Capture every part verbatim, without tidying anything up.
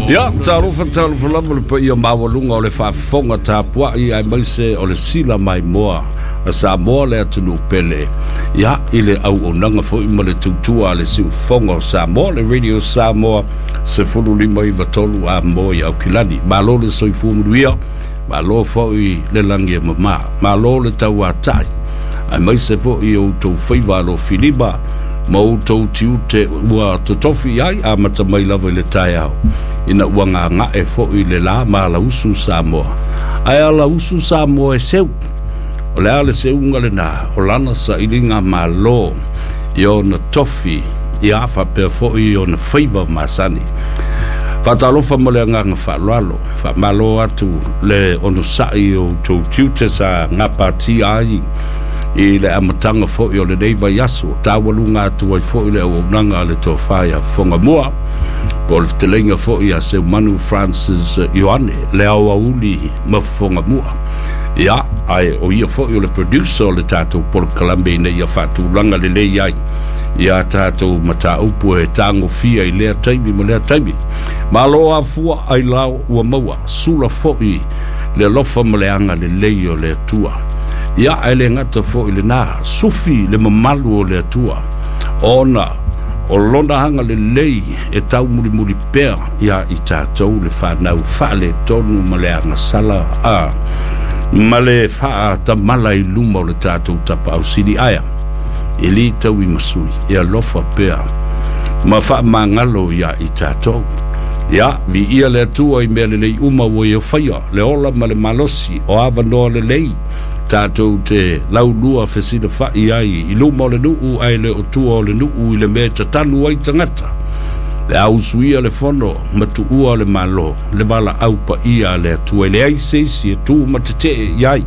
Ia, talofa talofa lava le paia maualuga o le faafofoga tapuai aemaise o le sila maimoa a Samoa le atunuu pele. Ia, i le auaunaga foi ma le tautua a le siufofoga o Samoa, le Radio Samoa sefulu lima iva tolu Amoa i Aukilani. Malo le soifua manuia, malo foi le lagi e mama, malo le tauatai, aemaise foi o outou faiva alofilima ma outou tiute ua totofi ai amata mai lava i le taeao ina ua gaga'e foi le lā ma alausu Samoa. Ae alausu Samoa e seu. O le a le seuga lenā? O lana sailiga malo i ona tofi, ia faapea foi i ona faiva masani. Faatalofa ma le agaga faaaloalo, faamalo atu le onosa'i o outou tiute sa gapatia ai i le amataga foi o lenei vaiaso, taualuga atu ai foi le auaunaga a le tofa ia Fogamua, po o le fetalaiga foi ia Seumanu Francis Ioane, le aoauli ma Fogamua. Ia, ae o ia foi o le producer o le tatou polokalame ina ia faatulaga lelei ai ia tatou mataupu e tagofia i lea taimi ma lea taimi. Malo afua ailao ua maua, sula foi le alofa ma le agalelei o le Atua. Ia, ae le gata foi lenā, sufi le mamalu o le Atua, ona o lona agalelei e taumulimuli pea ia i tatou le fanau faaletonu ma le agasala a ma le faatamala i luma o le tatou Tapaau Sili aea e lī tauimasui e alofa pea ma faamagalo ia i tatou. Ia, viia le Atua i mea lelei uma ua ia faia, le ola ma le malosi o avanoa lelei tatou te laulua fesilafa'i ai i luma o le nuu ae le o tua o le nuu i le mea e tatanu ai tagata pe a usuia le fono ma tuua o le Malo le valaau paia a le Atua e leai se isi e tu ma tete'e i ai.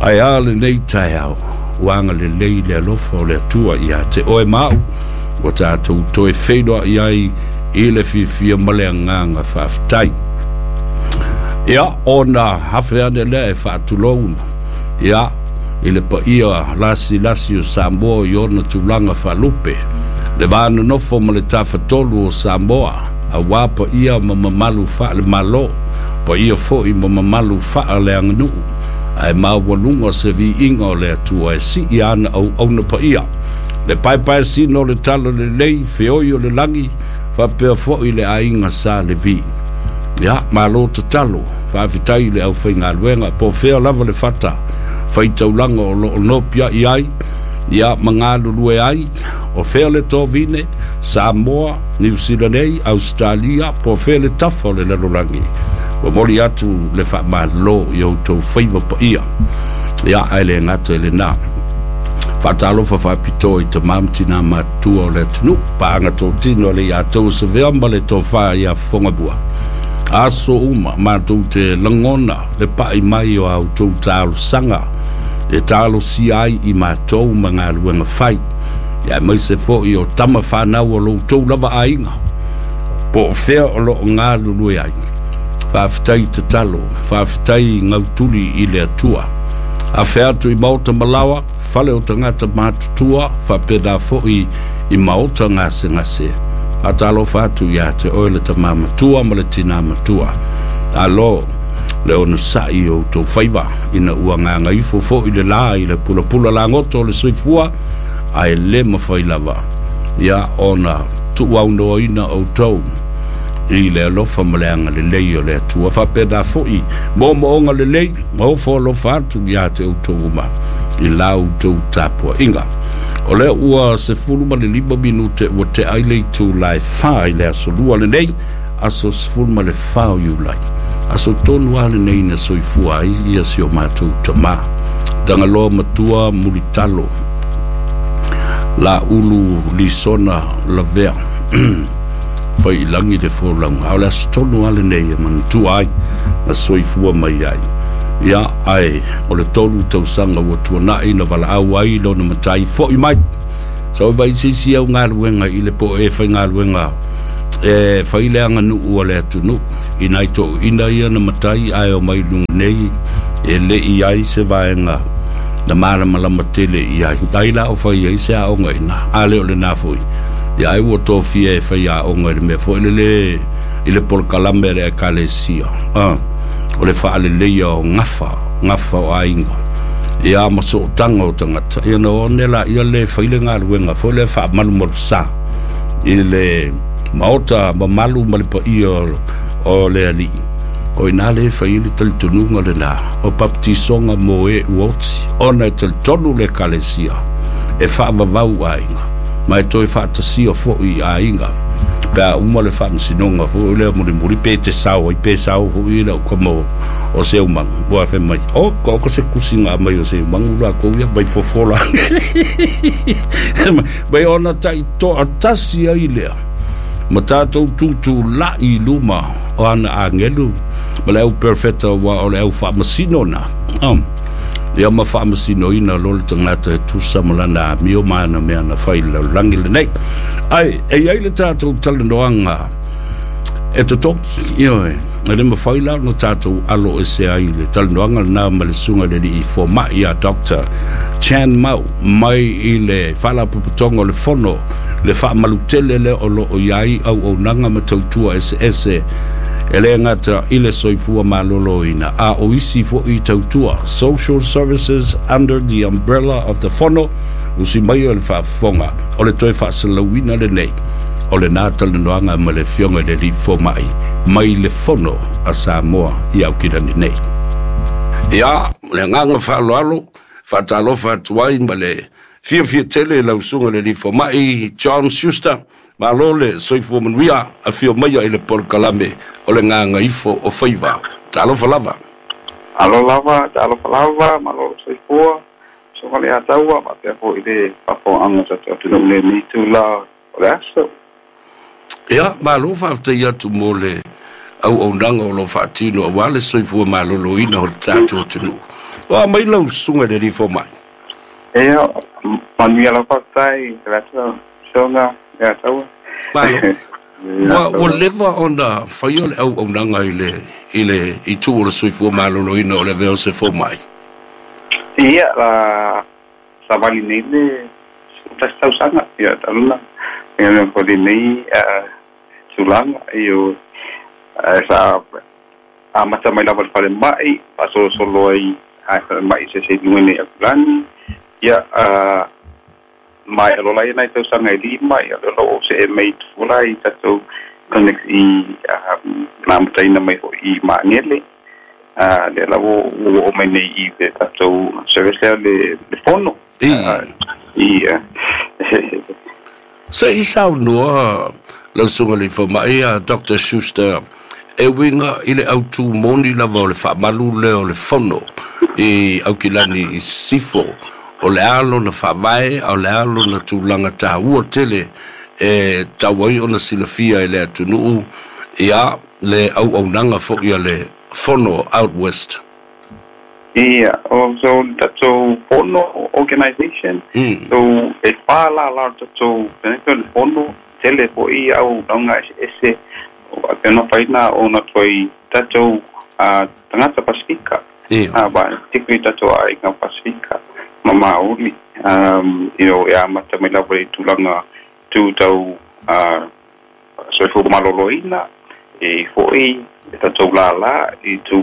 Ae a lenei taeao? Ua agalelei le alofa o le Atua iā te oe ma a'u ua tatou toe feiloa'i ai i le fiafia ma le agaga faafetai. Ia, ona afe ane lea e faatulou, ia, i le paia lasilasi o Samoa i ona tulaga faalupe, le va nonofo ma le tafatolu o Samoa, auā paia ma mamalu faale-Malo, paia foi ma mamalu faaleaganuu, ae maualuga se viiga o le Atua e sii ana auauna paia, le paepaesina o le tala lelei feoi o le lagi, faapea foi le aiga Sa Levi. Ia, malo tatalo, faafetai i le aufaigaluega po o fea lava le fata faitaulaga o loo nopiai ai, ia, ma galulue ai, o fea le tovine, Samoa, Niu Sila nei, Ausetalia, po o fea le tafa o le lalolagi. Momoli atu le faamalo i outou faiva paia. Ia, ae le gata i lenā, faatalofa faapitoa i tamā ma tinā matutua o le atunuu, paaga totino a le ia tou Savea ma le tofa ia Fogamua. Aso uma matou te lagona le pa'i mai o a outou talosaga e talosia ai i matou ma galuega fai, ia aemaise foi o tama fanau o lo outou lava aiga po o fea o loo galulue ai. Faafetai tatalo, faafetai gautuli i le Atua. Afe atu i maota malaoa, fale o tagata matutua, faapena foi i maota gasegase. Faatalofa atu iā te oe le tamā matua ma le tinā matua. Alo le onosa'i o outou faiva ina ua gagaifo foi le lā i le pulapula lagoto o le soifua, ae le mafai lava ia ona tuuaunoaina outou i le alofa ma le agalelei o le Atua. Faapena foi moomooga lelei ma ofo alofa atu iā te outou uma i la outou tapua'iga. O lea ua sefulu ma le lima minute ua tea ai le itulā e fa i le aso lua lenei, aso sefulu ma le fa o Iulai, aso tonu a lenei na soifua ai ia si o matou tamā Tagaloa Matua Mulitalo La Ulu Lisona Lavea, fai i lagi le folauga. A o le aso tonu a lenei e manatua ai na soifua mai ai. Ia, ae o le tolu tausaga ua tuana'i na valaau ai lona matai fo'i mai sa oi vaisisi au galuega i le po e faigaluega e fai le aganuu a le atunuu i nai toʻuina ia na matai ae o mai luga nei e leʻi ai se vaega na malamalama tele i ai ai la o fai ai se aoga ina a le o lenā foi. Ia, ai ua tofia e fai aoga i le mea foi lele I le polokalame le ekalesia. Ah, o le faaleleia o gafa, gafa o aiga. Ia ma sootaga o tagata. Ia na one la ia le fai le galuega foi le faamalumalusā i le maota mamalu ma le paia o le alii. O ina le fai le talitonuga lenā o papatisoga mo e ua oti ona e talitonu le ekalesia e faavavau aiga ma e toe faatasia foʻi aiga pe a uma le faamasinoga foʻi lea mulimuli pe te sao ai pe sao foʻi le aukama o, o seumaga ua fe mai o ko se kusiga mai o seumaga lakou ia mai fofola mai ona taʻitoatasi ai lea ma tatou tutulaʻi i luma o ana agelu ma le au perfeta ua o le au faamasino na um, ia ma faamasinoina lo le tagata e tusa ma lana amio ma ana mea na fai le lalolagi lenei. Ai e iai le tatou talanoaga e totogi ioe e le mafai la ona tatou alo ese ai le talanoaga lenā ma le suga le alii fomaʻi a Doctor Chan Mau mai i le faalapotopotoga o le Fono le faamalutele lea o loo iai auaunaga ma tautua eseese e le gata i le soifua malōlōina a o isi foʻi tautua, social services under the umbrella of the Fono. Usi mai o le faafofoga o le toe faasalauina lenei o lenā talanoaga ma le afioga i le alii fomaʻi mai le Fono a Samoa i Aukilani nei. Ia le agaga faaaloalo faatalofa atu ai ma le fiafia tele lau suga le alii fomaʻi John Schuster. Malo le soifua manuia, afio maia i le polokalame o le Gagaifo o Faiva. Talofa lava. Alo lava, talofa lava, malo soifua. So le ataua, ma pea foʻi le faafofogaga tatou atunuu lenei itulā o le aso. Ia, malo faafetai atu mo le auaunaga o lo faatino auā le soifua malōlōina o le tatou atunuu. O mai lau susuga i le alii fomaʻi. Ia, manuia lau faafetai, le ata soga le ataua. Malo. Ua ua leva ona faia le auaunaga i le i le itu o le soifua malōlōina o le avea o se fomaʻi. Ia, la savali nei le tasi tausaga, ia taluna. Ia mea foi lenei tulaga, io sa amata mai lava le falemai, faasolosolo ai a falemai se se luga nei Aukilani. Ia, mai alola ia nai tausaga e lima, ia le o se e mai tula i tatou clinics i na amataina mai foʻi i Magele. Uh, le la ua ua oo mai nei i le tatou service lea le, le Fono. I I Se i saunoa lau suga le fomaʻi a Doctor Schuster e uiga i le autū moni lava o le faamalu lea o le Fono i Aukilani i Sisifo o le a lona faavae a o le a lona tulaga tāua tele e tau ai ona silafia e le atunuu ia le auaunaga foʻi a le Fono out west. Ia, o so tatou Fono organization. Mm. So e whā la la tatou pene le Fono tele foʻi auaunaga eseese o pena faina o na toi tatou uh, tagata Pasifika. Ia. Uh, ba, particularly tatou aiga Pasifika ma Maori. Um, you know, e amata mai lava i tulaga tu tau uh, soifua malōlōina e foʻi e tatou lālā i tu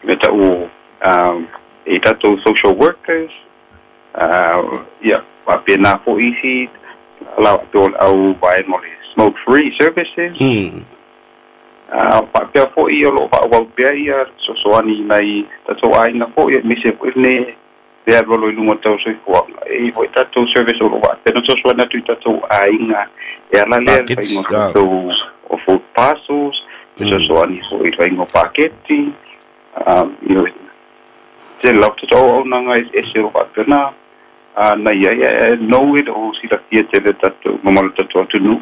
me tau um, e tatou social workers, uh, ia faapena foʻi isi la o au vaega o le smoke free services. Mm. uh, faapea foʻi o loo faaauau pea ia sosoani nai tatou aiga foʻi aemaise foʻi ne le alu i luga tau soifuaga e foʻi tatou service o loo faapea sosoani atu i tatou aiga e ala lea le Packets. faiga o tatou o food parcels e sosoani foʻi i faiga o paketi, um, you know, tele lava tatou auaunaga eseese o loo faapena na ia e know it o silafia tele tatou mamalu tatou atunuu.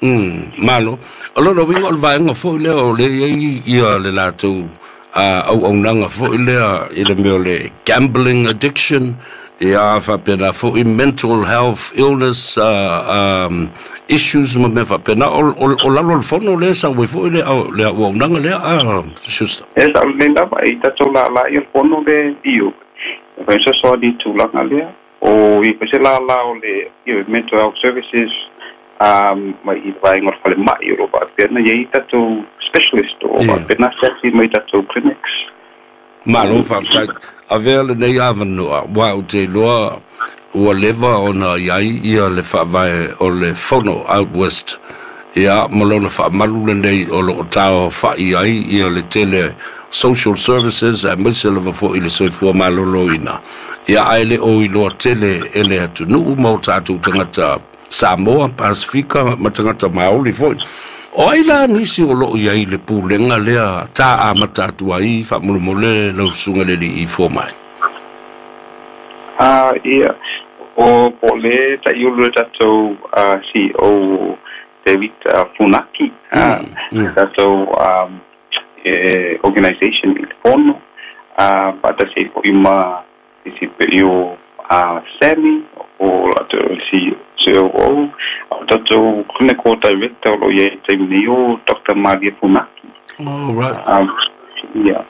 Mm, malo. O lona uiga o le vaega foʻi lea o le iai ia le latou uh, auaunaga foʻi lea i le mea o le gambling addiction, ia faapena foʻi mental health illness uh, um, issues ma mea faapena o, o, o lalo o le Fono lea sau ai foʻi le, le auaunaga lea a Schuster. E sa le lava i tatou lālā ia le Fono le io e fai sosoani i tulaga lea o i se lālā o le io mental health services. um mai i vaenga o le falemai o lo faapea na iai tatou specialist o faapea na asiasi mai tatou clinics. Malo faafetai. Avea lenei avanoa ua ou te iloa ua leva ona iai ia le faavae o le Fono Out West ia ma lona faamalu lenei o loo taofa'i ai ia le tele social services aemaise lava fo'i le soifua malōlōina ia ae le o iloa tele e le atunuu ma o tatou tagata Samoa, Pasifika ma tagata Maoli fo'i. O ai la nisi o loo iai le pulega lea tā amata atu ai faamolemole lau susuga le alii fomai? Ah, ia, o po o le taʻiulu le tatou uh, C E O David uh, Funaki, uh, mm, mm. tatou um, e, organization i le fono uh, faatasi ai foʻi ma isi pei o uh, Sammy o latou C O O, o tatou clinical director o lo o iai taimi nei o Doctor Maria Funaki. Oh, right. um, yeah.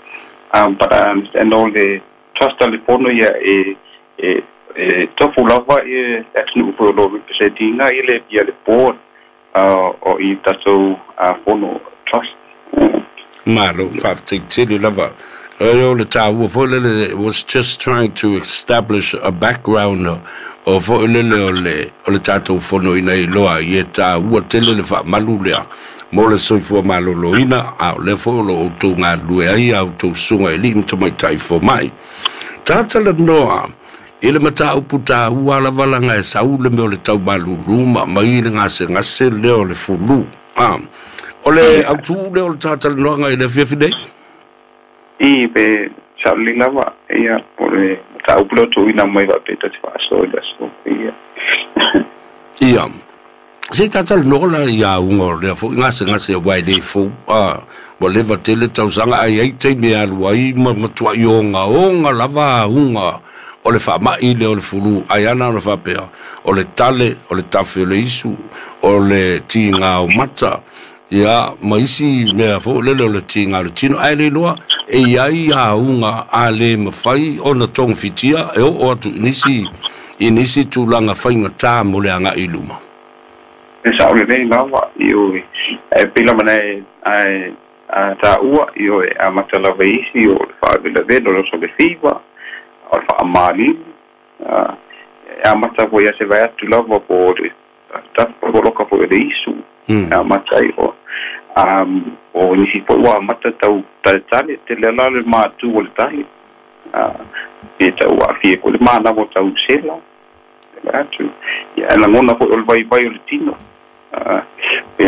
um, but I understand all le trust a le fono ia e e e tofu lava e atunuu foi o lo represent ina i le ia le board uh, o i tatou uh, fono trust. Mm. Malo, faafetai tele lava. O le tāua foi lele was just trying to establish a background o foi lele o le o le tatou fono ina iloa i e tāua tele le faamalu lea mo le soifua malōlōina a o lea foi o lo outou galulue ai a outou susuga i alii ma tamaitai fomai. Tatalanoa i le mataupu tāua lava laga e sau le mea o le taumalūlū ma mai le gasegase lea o le flu. A o le autū lea o le tatalanoaga i le afiafi nei. I pe saʻolelei lava ia o le mataupu lea o tuuina mai faapea ta te faasoa i le aso ia. Ia se tatalanoa la ia uga o lea foʻi gasegase ua e lē fou a ua leva tele tausaga ai ai taimi e alu ai ma matuaʻi ogaoga lava auga o le faamaʻi lea o le flu ai ana ona faapea o le tale o le tafe o le isu o le tigā o mata ia ma isi mea foʻi lele o le tigā o le tino ae le iloa e iai auga a lē mafai ona togafitia e oo atu i nisi i nisi tulaga faigatā mo le agaʻi i luma. E saʻolelei lava ioe e pei lava na e ae a taua ioe amata lava isi o le faalevelavelo o le oso le fiva o le faamalinu e amata foi ia se vae atu lava po o le tafapoloka foi o le isu mm. e amata ai o um, o nisi foi ua amata tau taletale tele ala le matū o le tale uh, pe tau aafia foi le manava o tau sela vae atu ia e lagona foi o le vaivai o le tino uh, pe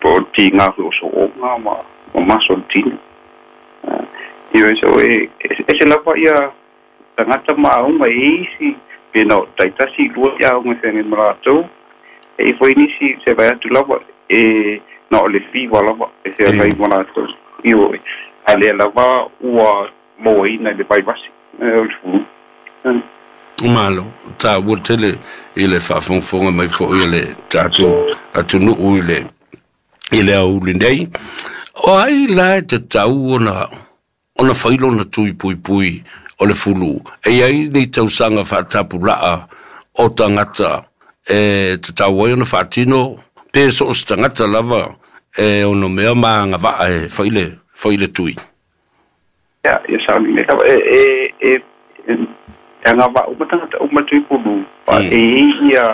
po o tigā foi o soʻoga ma ma maso o le tino uh, ioe so e ese lava ia tagata ma auga e isi pe na o taitasi lua ia auga e feagai ma latou e i foi nisi se vae atu lava e na o le fiva lava e feagai ma latou ioe a lea lava ua mauaina i le vaivasi o le flu. Malo tāua tele i le faafogafoga mai foʻi e le tatou atunuu i le i le aoauli nei. O ai la e tatau ona ona fai lona tui puipui o le flu? E iai ni tausaga faatapulaa o tagata e tatau ai ona faatino pe so o se tagata lava e ono mea ma agavaa e fai le fai le tui? Ia ia saʻolelei lava e e e e agavaʻa uma tagata uma tui pulu mm. e i ia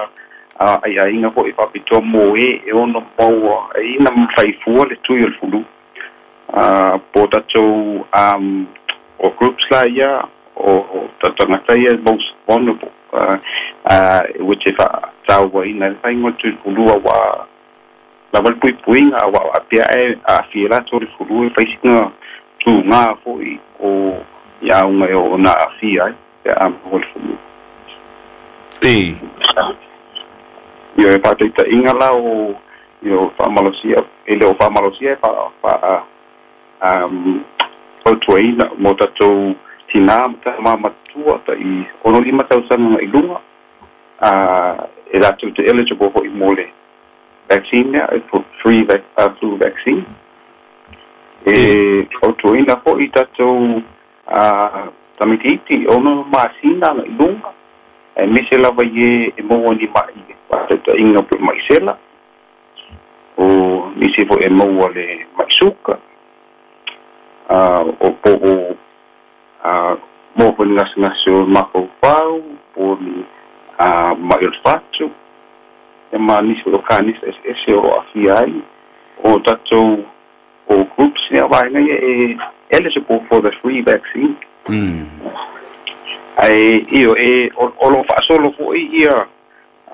a aiaiga foʻi faapitoa mo e e ono maua e ina faifua le tui o le flu a po tatou um o groups la ia o o tagata ia most vulnerable uh, uh, which e faatauaina le faiga o le tui flu ua lava le puipuiga ua aapea e aafia latou le flu e faisiga tugā foʻi o ia auga e oo na aafia ai pe a maua le flu. E Ia e faataitaʻiga la o io faamalosia e le o faamalosia e fa fa um fautuaina mo tatou tinā ma tamā matua taʻi ono lima tausaga i luga a e latou te eligible foʻi mo le vaccine lea e free vac, uh, flu vaccine e fautuaina foʻi tatou uh, tamaitiiti ono masina aga i luga e mise lava i e e maua ni maʻi faataitaʻiga pe maʻi sela. O nisi fo'i e maua le ma'i suka, o po o maua foi ni gasegase o le mafaufau, po o ni ma'i o le fatu, ia ma nisi foi o kanisa eseese o lo o aafia ai. O tatou o groups ia vaega ia e eligible for the free vaccine. Mm. Ae ioe, e o lo o faasolo fo'i ia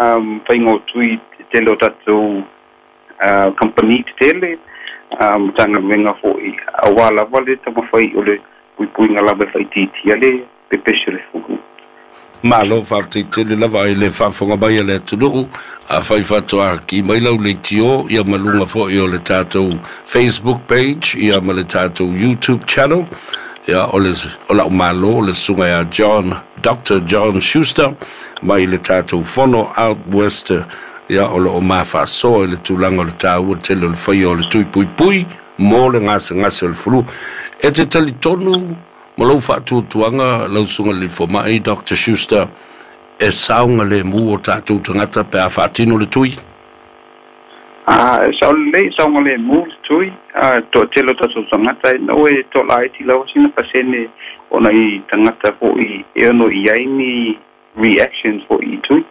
um, faiga o tui tele o tatou uh, company tetele, um, Matagaluega fo'i, auā lava le taumafai o le puipuiga lava e faaitiitia le pepesi o le fulu. Malo faafetai lava i le faafofoga mai a le atunuu. Afai faatoa ki mai lau leitio ia ma luga fo'i o le tatou Facebook page ia ma le tatou YouTube channel, ia o le o lau malo le susuga ia John Doctor John Schuster mai le tatou fono out west, ia o lo o mafaasoa i le tulaga o le taua tele o le faia o le tui puipui mo le gasegase o le flu. E te talitonu ma lou faatuatuaga lau susuga le foma'i Doctor Schuster e saogalemu o tatou tagata pe a faatino le tui? A e sao lelei, saogalemu le tui. A toatele o tatou tagata e no e toalaiti lava sina pasene ona i tagata fo'i e ono i ai ni reactions fo'i i tui.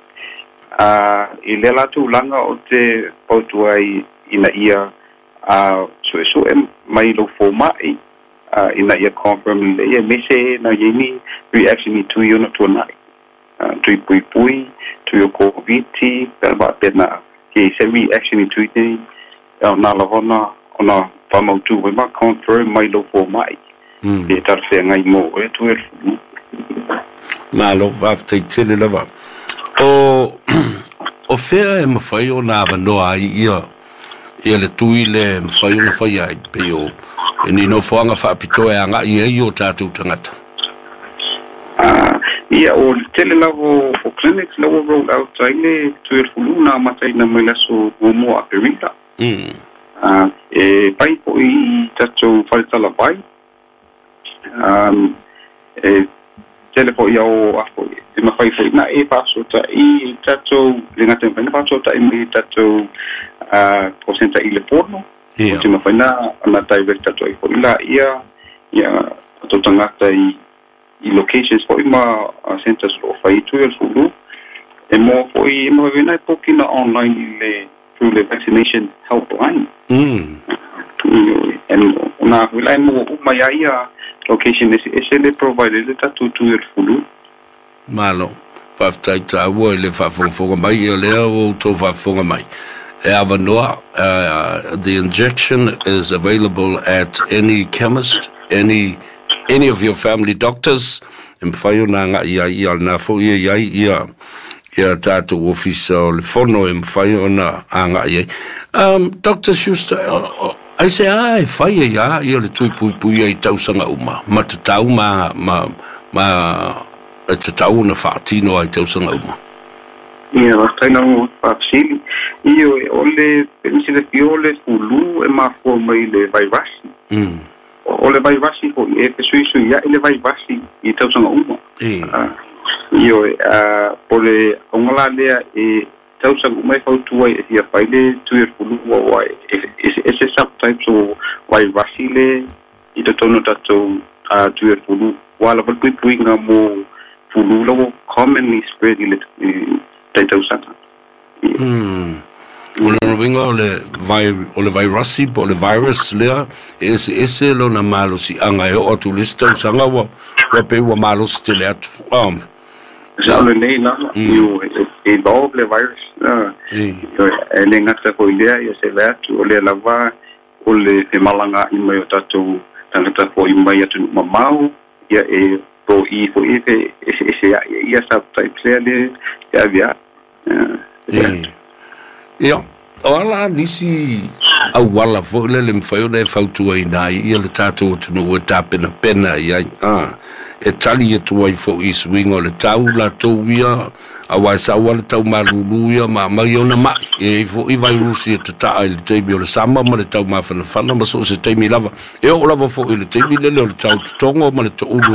A i lea la tulaga o te fautua ai ina ia a su'esu'e mai lou foma'i ina ia confirm lelei, aemaise na i ai ni reaction i tui ona tuana'i, tui puipui, tui o Koviti, pe faapena ke se reaction i tui nei, ona lava ona ona faamautu ai ma confirm mai lou foma'i pe talafeagai mo oe tui o le fulu. Malo faafetai tele lava. O o fea e mafai ona avanoa ai ia ia le tui le mafai ona faia ai pei o e ni nofoaga faapitoa e aga'i ai o tatou tagata? Ia, o le tele lava o clinics la ua roll out ai le tui o le fulu na amataina mai le aso muamua Aperila. Mm. E pai fo'i i tatou faletalavai, um, e tele fo'i ao afo'i e mafai fo'i na e faasota'i i tatou le gata e mafai na faasota'i mai i tatou call centre i le fono Ia. o te mafai na ona direct atu ai fo'i laia ia tatou tagata i i locations fo'i ma centers o lo o fai tui o le fulu. E maua fo'i e mafai na e pokina online i le through le vaccination helpline. Mm. And ona fo'i la e maua uma ia ia location eseese le provide le tatou tui o le fulu. Malo faafetai taua i le faafogafoga mai. Ia lea ua outou faafofoga mai e avanoa. uh, the injection is available at any chemist, any any of your family doctors e mafai ona aga'i ai ia lena fo'i e i ai ia ia tatou ofisa o le fono e mafai ona aga'i ai. um, Doctor Schuster, aisea e fai ai a ia le tui puipui ai tausaga uma ma tatau ma ma ma e tatau ona faatino ai tausaga uma? Ia, faafetai lau faafesili. Ioe, o le penisilefia o le fulu e mafua mai le vairasi. Mm. O le vairasi fo'i e fesuisuia'i le vairasi i tausaga uma. E. Ioe, po le auga la lea e tausaga uma e fautua ai e fia fai le tui o le fulu auā e eseese subtypes o vairasi le i totonu o tatou tui o le fulu ua lava le puipuiga mo fulu la ua commonly spread i le taitausaga. Mm. O lona uiga o le vai o le vairasi po o le virus lea e eseese lona malosi'aga e oo atu i le isi tausaga ua ua pei ua malosi tele atu. Um, Sao lelei lava, ioe, e evolve le virus. E. E le gata foi lea, ia se vae atu o lea lava o le femalaga'i mai o tatou tagata fo'i mai atunuu mamao, ia e to'i fo'i e fe'ese'esea'i ai ia subtypes lea le e avea'i. E. Ia, o ala nisi auala fo'i le le mafai ona e fautuaina ai ia le tatou atunuu e tapenapena i ai a e tali atu ai fo'i i suiga o le tau latou ia auā e sau a le tau malūlū ia ma aumai ona ma'i e ai fo'i vairusi e tata'a i le taimi o le sama ma le tau mafanafana ma so o se taimi lava e oo lava fo'i i le taimi lele o le tau totogo ma le to'ulu.